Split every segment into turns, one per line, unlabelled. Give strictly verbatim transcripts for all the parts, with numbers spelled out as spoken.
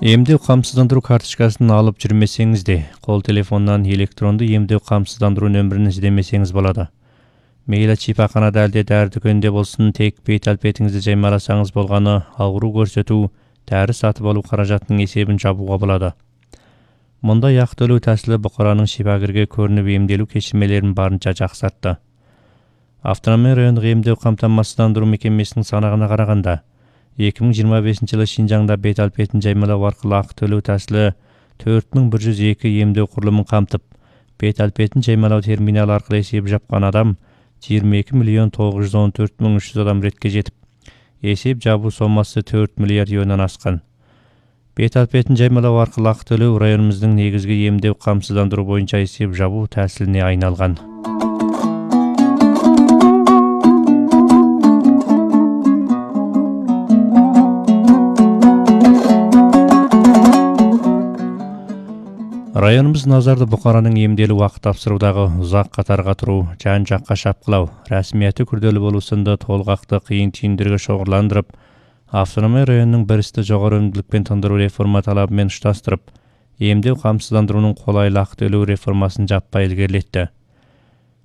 Эмдөө камсыздандыруу карточкасын алып жүрмесеңизде, кол телефонунан электрондуу эмдөө камсыздандыруу нөмүрүн издемесеңиз болот. Мейли чипаканада эле дәрі дүкөнүндө болсун, тек бет алпетиңизди жаймаласаңыз болгону оору көрсөтүү, дәрі сатып алуу каражатынын эсебин жабууга болот. Мындай актылуу тәсили Букаранын шипагерге көрүнүп эмделүү кечирмелерин барынча жаксартты. Автономия райондук эмдөө камтамасыздандыруу мекемесинин санагына караганда, эки миң жыйырма бешинчи жылы Шинжаңда бет алпетин жаймалоо аркылуу акы төлөө тәсили төрт миң бир жүз эки эмдөө курулумун камтып, бет алпетин жаймалоо терминалы аркылуу эсеп жапкан адам жыйырма эки миллион тогуз жүз он төрт миң үч жүз адам ретке жетип, эсеп жабуу сомасы төрт миллиард юандан аскан. Бет алпетин жаймалоо аркылуу акы төлөө районумуздун негизги эмдөө камсыздандыруу боюнча эсеп жабуу тәсилине айналган. Районумуз назарды Букаранын эмделүү убакыт тапшыруудагы узак катарга туруу, жан жакка шапкылау, расмияты күрдөлүү болуусунда толгакты кыйын түйүндөргө шоғурландырып, автономия районунун биристи жогору өнүмдүүлүкпен тындыруу реформа талабы менен ушташтырып, эмдөө камсыздандыруунун колайлуу акы төлөө реформасын жаппай илгерилетти.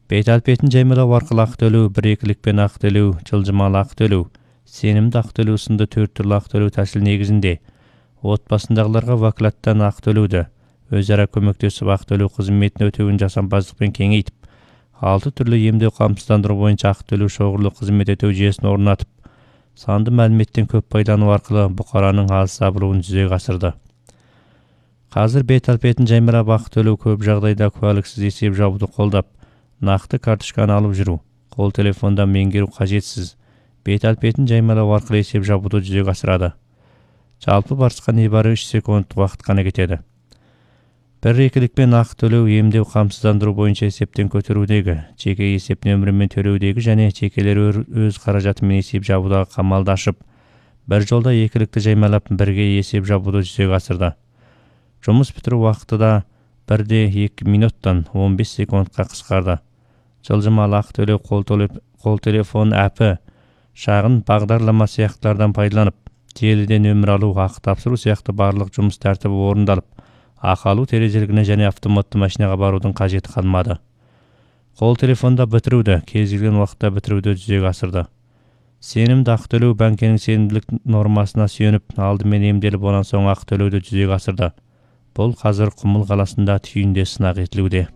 Бет алпетин жаймалоо аркылуу акы төлөө, бир экиликпен акы төлөө, жылжымалуу акы төлөө, сенимдүү акы төлөө сынды төрт түрлүү акы төлөө тәсили негизинде отбасындагыларга вакалаттан акы төлөөдө өз ара көмөктөшүп акы төлөө кызметін өтөөгүн жасампаздыкпен кеңейтип, алты түрлүү эмдөө камсыздандыруу боюнча акы төлөө шоғурлуу кызмет өтөө жүйөсүн орнатып, санды маалиметтен көп пайдалануу аркылуу Букаранын аз сабылуун жүзөгө асырды. Азыр бет алпетин жаймалап акы төлөө көп жагдайда куалыксыз эсеп жабууду колдоп, накты карточканы алып жүрүү, кол телефондон меңгерүү кажетсиз, бет алпетин жаймалоо аркылуу эсеп жабууду жүзөгө асырады. Жалпы барчка небары үч секунддук убакыт гана кетеди. Бир экиликпен акы төлөө эмдөө камсыздандыруу боюнча эсептен көтөрүүдөгү, жеке эсеп нөмүрү менен төлөөдөгү жана жекелер өз каражаты менен эсеп жабуудагы камалдашып, бир жолдо экиликти жаймалап бирге эсеп жабууду жүзөгө асырды. Жумуш бүтүрүү убакыты да бирде эки минуттан он беш секундка кыскарды. Жылжымалуу акы төлөө кол телефон апы, шагын багдарлама сыяктуулардан пайдаланып, желиде нөмүр алуу, акы тапшыруу сыяктуу барлык жумуш тартиби орундалып, акы алуу терезелигине жана автоматтуу машинага баруудун кажети калмады. Кол телефонда бүтүрүүдө, кез келген убакытта бүтүрүүдө жүзөгө асырды. Сенимдүү акы төлөө банкенин сенимдүүлүк нормасына сүйөнүп, алды менен эмделип анан соң акы төлөөдө жүзөгө асырды. Бул азыр Кумул каласында түйүндө сынак этилүүдө.